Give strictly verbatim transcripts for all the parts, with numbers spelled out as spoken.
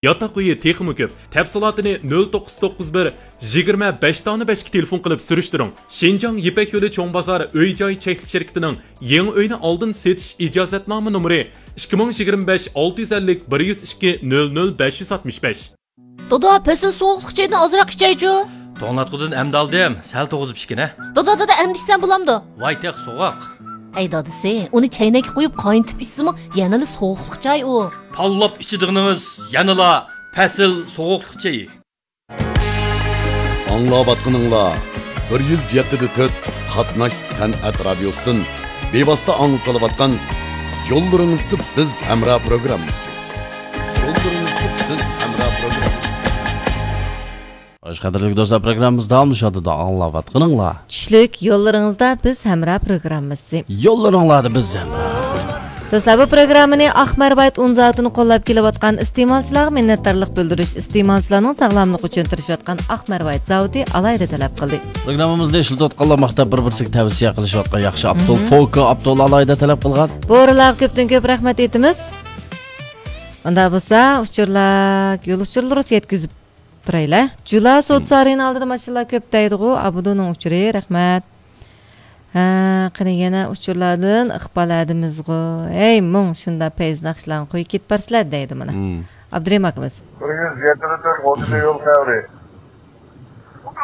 ياتاق ئۆيى تېخىمۇ كۆپ. تەپسىلاتىنى نۆل توققۇز توققۇز بىر، يىگىرمە بەش دانە بەشكە تېلېفون قىلىپ سۈرۈشتۈرۈڭ. شىنجاڭ يىپەك يولى چوڭ بازار ئۆي جاي چەكلىك شىركىتىنىڭ يېڭى ئۆينى ئالدىن سېتىش ئىجازەتنامە نومۇرى ئىككى مىڭ يىگىرمە بەش، ئالتە يۈز ئەللىك، بىر يۈز ئىككى، نۆل نۆل، بەش يۈز ئاتمىش بەش. دادا، پەسىل سوغۇقلۇق چايدىن ئازراق ئىچەيچۇ. توڭلاتقۇدىن ئەمدى ئالدىم، سەل توغۇزۇپ ئىچكىنە. دادا، دادا، ئەمدى ئىچسەم بولامدۇ؟ ۋاي، تېخى سوغۇق. ھەي دادىسى، ئۇنى چەينەككە قويۇپ قاينىتىپ ئىچسىمۇ يەنىلا سوغۇقلۇق چاي ئۇ. تاللاپ ئىچىدىغىنىڭىز يەنىلا پەسىل سوغۇقلۇق چېيى. ئاڭلاۋاتقىنىڭلار بىر يۈز يەتتە دە تۆت قاتناش سەنئەت رادىيوسىدىن بىۋاسىتە ئاڭلىتىلىۋاتقان يوللىرىڭىزدا بىز ھەمراھ پروگراممىسى. يوللىرىڭىزدا بىز ھەمراھ پروگراممىسى. خوش، قەدىرلىك دوستلار، پروگراممىمىز داۋاملىشىۋاتىدۇ. ئاڭلاۋاتقىنىڭلار چۈشلۈك يوللىرىڭىزدا بىز ھەمراھ پروگراممىسى. يوللىرىڭلاردا بىز ھەمراھ. دوستلار، بۇ پروگراممىنى ئاق مەرۋايىت ئۇن زاۋۇتىنى قوللاپ كېلىۋاتقان ئىستېمالچىلارغا مىننەتدارلىق بىلدۈرۈش، ئىستېمالچىلارنىڭ ساغلاملىقى ئۈچۈن تىرىشىۋاتقان ئاق مەرۋايىت زاۋۇتى ئالاھىدە تەلەپ قىلدى. پروگراممىمىزنى ئىشلىتىۋاتقانلار ماختاپ بىر-بىرسىگە تەۋسىيە قىلىشىۋاتقان ياخشى ئاپتول مھم. فوكو ئاپتول ئالاھىدە تەلەپ قىلغان. بۇ ئورۇنلارغا كۆپتىن كۆپ رەھمەت ئېيتىمىز. ئۇنداق بولسا، ئۇچۇرلار، يول ئۇچۇرلىرى يەتكۈزۈپ تۇرايلى. جۇلا سودا سارىيىنىڭ ئالدىدا ماشىنىلار كۆپ دەيدىغۇ، ئابدۇنىڭ ئۇچۇرى، رەھمەت. ھە، قېنى يەنە ئۇچۇرلاردىن ئىقبال ھەدىمىزغۇ. ھەي، مۇڭ، شۇنداق پەيز ناخشىلارنى قويۇپ كېتىپ بارسىلەر دەيدۇ مانا. مم. ئابدۇرېھىم ئاكىمىز. بىر يۈز يەتتە تۆت ئوتتۇز يول خەۋىرى.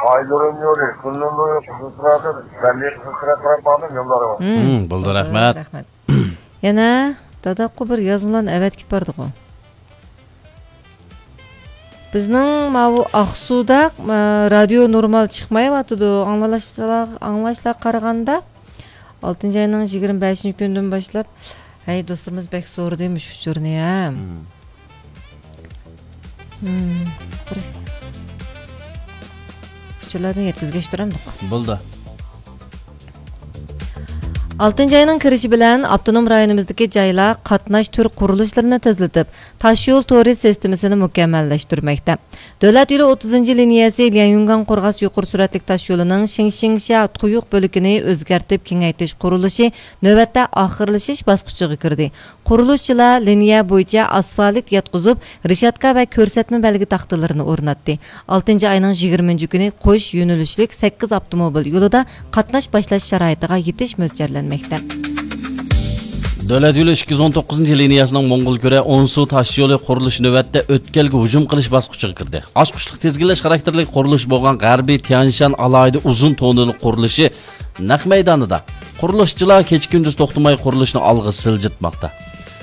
ئايلىرىم يولى، كۈنلىرىم يولى، قىزىلسىرادا، بەللىك قىزىلسىرا قاراپ بارمىز يوللارغا. مم، مم، بولدى، بولدى، رەھمەت. رەھمەت. يەنە داداققۇ بىر يازمىلارنى ئەۋەتكىپ باردىغۇ. بىزنىڭ ماۋۇ ئاقسۇدا، ئە، رادىيو نورمال چىقمايۋاتىدۇ. ئاڭلاشلار، ئاڭلاشلار قارىغاندا، ئالتىنچى ئاينىڭ يىگىرمە بەشىنچى كۈنىدىن باشلاپ، ھەي، دوستلىرىمىز بەك سورىدى مۇشۇ ئۇچۇرنى، ھە. مم. مم. بىر ئۇچۇرلاردىن يەتكۈزگەچ تۇرامدۇق. بولدى. ئالتىنچى ئاينىڭ كىرىشى بىلەن ئاپتونوم رايونىمىزدىكى جايلار قاتناش تۈر قۇرۇلۇشلىرىنى تېزلىتىپ، تاشيول تورى سىستېمىسىنى مۇكەممەللەشتۈرمەكتە. دۆلەت يولى ئوتتۇزىنچى لىنىيەسى ليەنيۈنگاڭ قورغاس يۇقىرى سۈرئەتلىك تاشيولىنىڭ شىڭشىڭشيا تۇيۇق بۆلىكىنى ئۆزگەرتىپ كېڭەيتىش قۇرۇلۇشى نۆۋەتتە ئاخىرلىشىش باسقۇچىغا كىردى. قۇرۇلۇشچىلار لىنىيە بويىچە ئاسفالت ياتقۇزۇپ، رېشاتكا ۋە كۆرسەتمە بەلگە تاختىلىرىنى ئورناتتى. ئالتىنچى ئاينىڭ يىگىرمىنچى كۈنى قوش يۆنىلىشلىك سەككىز ئاپتوموبىل يولىدا قاتناش باشلاش شارائىتىغا يېتىش مۆلچەرلەنمەكتە. دۆلەت يولى ئىككى يۈز ئون توققۇزىنچى لىنىيەسىنىڭ موڭغۇلكۈرە ئونسۇ تاش يولى قۇرۇلۇشى نۆۋەتتە ئۆتكەلگە ھۇجۇم قىلىش باسقۇچىغا كىردى. ئاچقۇچلۇق تىزگىنلەش خاراكتېرلىك قۇرۇلۇش بولغان غەربىي تيەنشان ئالاھىدە ئۇزۇن توننېلى قۇرۇلۇشى نەق مەيدانىدا. قۇرۇلۇشچىلار كېچە-كۈندۈز توختىماي قۇرۇلۇشنى ئالغا سىلجىتماقتا.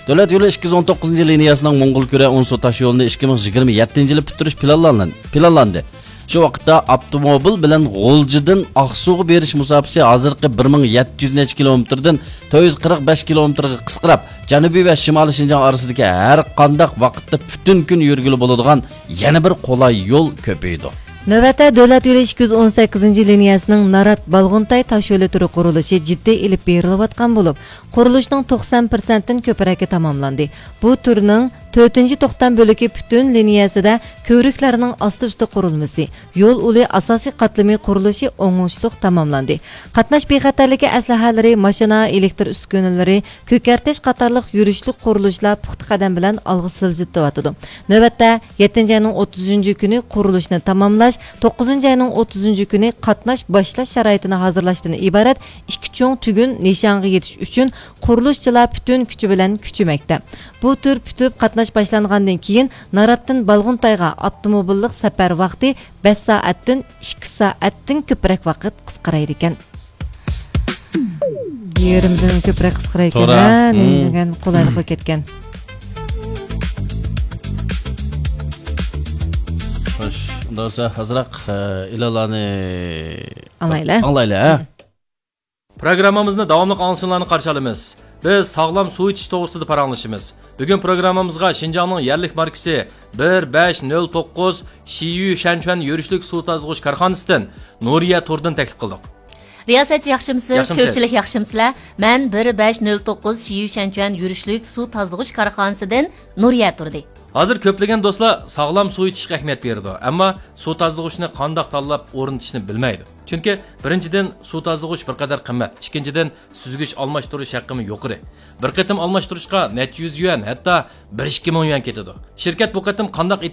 دۆلەت يولى ئىككى يۈز ئون توققۇزىنچى لىنىيەسىنىڭ موڭغۇلكۈرە ئونسۇ تاش يولىنى ئىككى مىڭ يىگىرمە يەتتىنچى يىلى پۈتتۈرۈش پىلانلان-، پىلانلاندى. شۇ ۋاقىتتا ئاپتوموبىل بىلەن غۇلجىدىن ئاقسۇغا بېرىش مۇساپىسى ھازىرقى بىر مىڭ يەتتە يۈز نەچچە كىلومېتىردىن تۆت يۈز قىرىق بەش كىلومېتىرغا قىسقىراپ، جەنۇبىي ۋە شىمالىي شىنجاڭ ئارىسىدىكى ھەر قانداق ۋاقىتتا پۈتۈن كۈن يۈرگىلى بولىدىغان يەنە بىر قولاي يول كۆپىيىدۇ. نۆۋەتتە دۆلەت يولى ئىككى يۈز ئون سەككىزىنچى لىنىيەسىنىڭ نارات-بالغۇنتاي تاشيولى تۈرى قۇرۇلۇشى جىددىي ئېلىپ بېرىلىۋاتقان بولۇپ، قۇرۇلۇشنىڭ توقسان پىرسەنتتىن كۆپرەكى تاماملاندى. بۇ تۈرنىڭ تۆتىنچى توختام بۆلىكى پۈتۈن لىنىيەسىدە كۆۋرۈكلەرنىڭ ئاستى-ئۈستى قۇرۇلمىسى، يول ئۇلى ئاساسىي قاتلىمى قۇرۇلۇشى ئوڭۇشلۇق تاماملاندى. قاتناش بىخەتەرلىكى ئەسلىھەلىرى، ماشىنا، ئېلېكتر ئۈسكۈنىلىرى، كۆكەرتىش قاتارلىق يۈرۈشلۈك قۇرۇلۇشلار پۇختا قەدەم بىلەن ئالغا سىلجىتىۋاتىدۇ. نۆۋەتتە، يەتتىنچى ئاينىڭ ئوتتۇزىنچى كۈنى قۇرۇلۇشنى تاماملاش، توققۇزىنچى ئاينىڭ ئوتتۇزىنچى كۈنى قاتناش باشلاش شارائىتىنى ھازىرلاشتىن ئىبارەت ئىككى چوڭ تۈگۈن نىشانغا يېتىش ئۈچۈن قۇرۇلۇشچىلار پۈتۈن كۈچى بىلەن كۈچىمەكتە. بۇ تۈر پۈتۈپ قاتناش باشلانغاندىن كېيىن، ناراتتىن بالغۇنتايغا ئاپتوموبىللىق سەپەر ۋاقتى بەش سائەتتىن ئىككى سائەتتىن كۆپرەك ۋاقىت قىسقىرايدىكەن. يېرىمدىن كۆپرەك قىسقىرايدىكەن، توغرا. ھە، نېمە دېگەن قولايلىققا كەتكەن. خوش، ئۇنداق بولسا ئازراق، ئە، ئېلانلارنى ئاڭلايلى. ئاڭلايلى، ھە؟ پروگراممىمىزنى داۋاملىق ئاڭلىشىڭلارنى قارشى ئالىمىز. بىز ساغلام سۇ ئىچىش توغرىسىدا پاراڭلىشىمىز. بۈگۈن پروگراممىمىزغا شىنجاڭنىڭ يەرلىك ماركىسى بىر بەش نۆل توققۇز شىيۈ شەنچۈەن يۈرۈشلۈك سۇ تازىلىغۇچ كارخانىسىدىن نۇرىيە تۇردىن تەكلىپ قىلدۇق. رىياسەتچى ياخشىمسىز؟ ياخشىمسىز؟ كۆپچىلىك ياخشىمسىلەر؟ مەن بىر بەش نۆل توققۇز شىيۈ شەنچۈەن يۈرۈشلۈك سۇ تازىلىغۇچ كارخانىسىدىن نۇرىيە تۇردى. ھازىر كۆپلىگەن دوستلار ساغلام سۇ ئىچىشكە ئەھمىيەت بېرىدۇ، ئەمما سۇ تازىلىغۇچنى قانداق تاللاپ ئورنىتىشنى بىلمەيدۇ. چۈنكى بىرىنچىدىن، سۇ تازىلىغۇچ بىر قەدەر قىممەت، ئىككىنچىدىن، سۈزگۈچ ئالماشتۇرۇش ھەققىمۇ يۇقىرى. بىر قېتىم ئالماشتۇرۇشقا نەچچە يۈز يۈەن، ھەتتا بىر ئىككى مىڭ يۈەن كېتىدۇ. شىركەت بۇ قېتىم قانداق